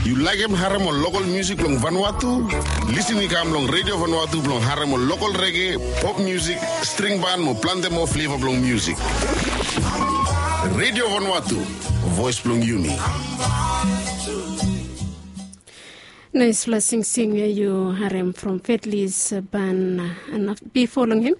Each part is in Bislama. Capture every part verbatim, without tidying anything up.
Yu laekem harem ol lokol musik blong Vanuatu? Lisin i kam long Redio Vanuatu blong harem ol lokol rege, pop musik, string ban mo plante moa fleva blong musik. Redio Vanuatu, voes blong yumi. Naesfala singsing we yu harem from Fetlis Ban, na bifo long hem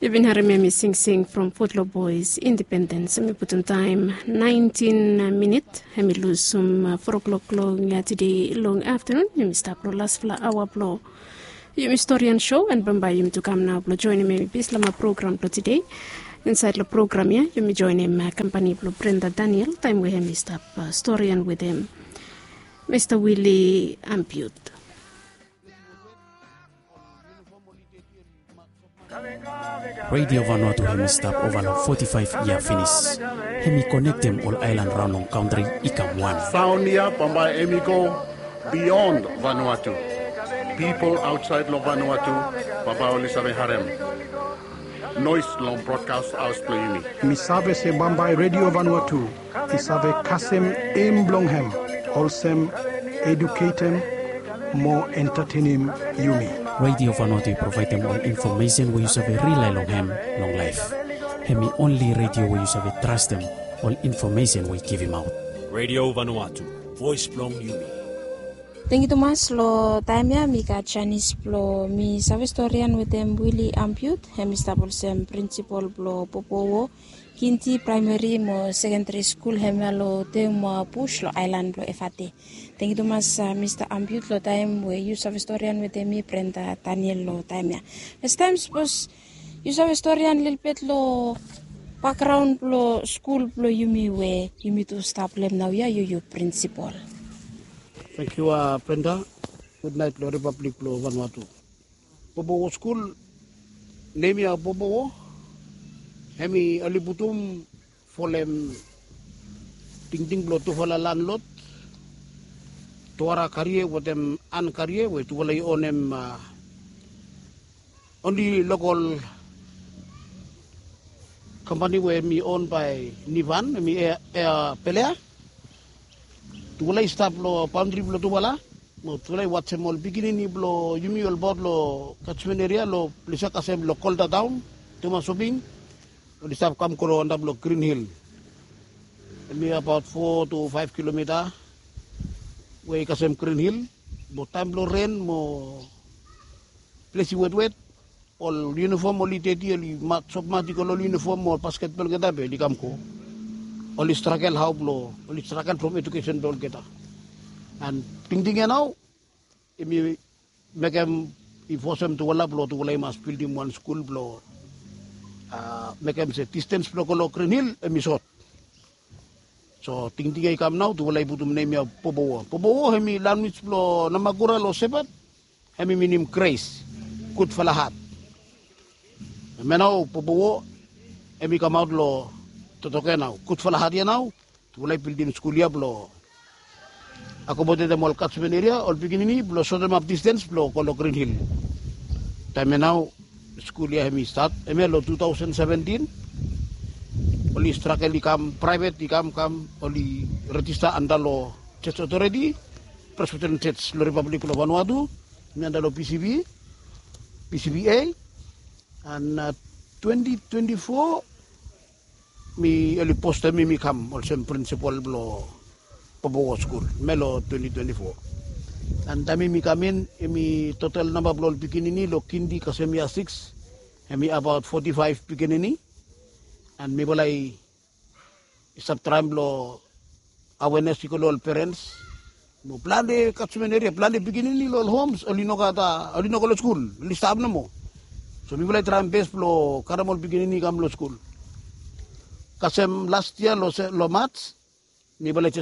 yu bin harem hem i singsing from Fotlo Boys Independens. Hem i putum taem naentin minit, hem i lusum fo klok long tede long aftanun. Hem i stap long lasfala aoa blong yumi storian sho, and bambae yumi tu kam nao blong joenem hem i ples long program blong tede. Insaed long program ya yumi joenem kampani blong Brenda Daniel taem we hem i stap storian wetem Mista Willy Ampiut. Redio Vanuatu hem i stap ova long foti faef yia finis. Hem i konektem ol aelan raon long kantri i kam wan. Saon ya bambae hem i go bion Vanuatu. Pipol aotsaed long Vanuatu bambae oli save harem noes long brodkas haos blong yumi. Mi save se bambae Redio Vanuatu i save kasem em blong hem olsem eduketem mo entatenem yumi. Redio Vanuatu i provaedem ol infomesen we yu save rilae long hem long laef. Hem i onli redio we yu save trastem ol infomesen we i givimaot. Redio Vanuatu, voes blong yumi. Tengiu tumas long taem ya mi gat janis blong mi save storian wetem Willy Ampiut. Hem i stap olsem prinsipol blong Popowo Kindi Praemeri mo Sekendari Skul hemia long Teuma Bus long aelan blong Efate. Tengiu tumas Mista Ampiut long taem we yu save storian wetem mi Brenda Daniel long taem ya. Fastaem sapos yu save storian lelebet long bakgraon blong skul blong yumi we yumi tu stap long hem naoia, yu yu prinsipol. Tengiu Brenda. Gudnaet long Ripablik blong Vanuatu. Popowo skul, nem ya Popowo, hem i oli putum folem tingting blong tufala landlod, Tuara Karie wetem An Karie we tufala i onem onli lokol kampani we hem i on bae Nivan, hem i Ea Pelea. Tufala i stap long baondri blong tufala mo tufala i wajem ol pikinini blong yumi olbaot long kasmen eria long ples ya kasem long Kolda Taon, Teuma Soping, oli stap kam go long antap long Grin Hil. Hem i abaot fo tu faef kilomita we i kasem Grin Hil. Mo taem blong ren mo ples i wetwet, ol yunifom oli deti, oli sop mati go long ol yunifom mo ol basketbol olgeta be oli kam go. Oli stragel hao blong, oli stragel from edukesen blong olgeta. And tingting ya nao hem i mekem, i fosem tufala blong tufala i mas bildim wan skul blong mekem se distens blong go long Grin Hil hem i sot. So tingting ya i kam nao, tufala i putum nem ya Popowo. Popowo hem i lanwis blong Namakura long Sepat, hem i minim gres, gudfala hat. Hemia nao Popowo hem i kamaot long totoke nao, gudfala hat ya nao. Tufala i bildim skul ya blong akomodetem ol kasmen eria, ol pikinini blong sotemap distens blong go long Grin Hil. Taem ya nao skul ya hem i stat, hemia long tu taosen seventin. Oli stragel i kam, praevet i kam kam, oli rejista antap long Church Authority, Presbyterian Church long Ripablik blong Vanuatu, hemi antap long P C B, P C B A, and twenti twenti fo mi oli postem mi, mi kam olsem prinsipol blong Popowo skul, hemia long twenti twenti fo. And taem mi kam in, hemi total namba blong ol pikinini long kindi kasem yia sikis, hemi abaot foti faef pikinini. And mifala i stap traem blong awenes i go long ol perens mo plante kasmen eria, plante pikinini long ol homs oli no gat, oli no go long skul, oli stap nomo. So mifala i traem bes blong karem ol pikinini i kam long skul. Kasem las yia long Maj, mifala i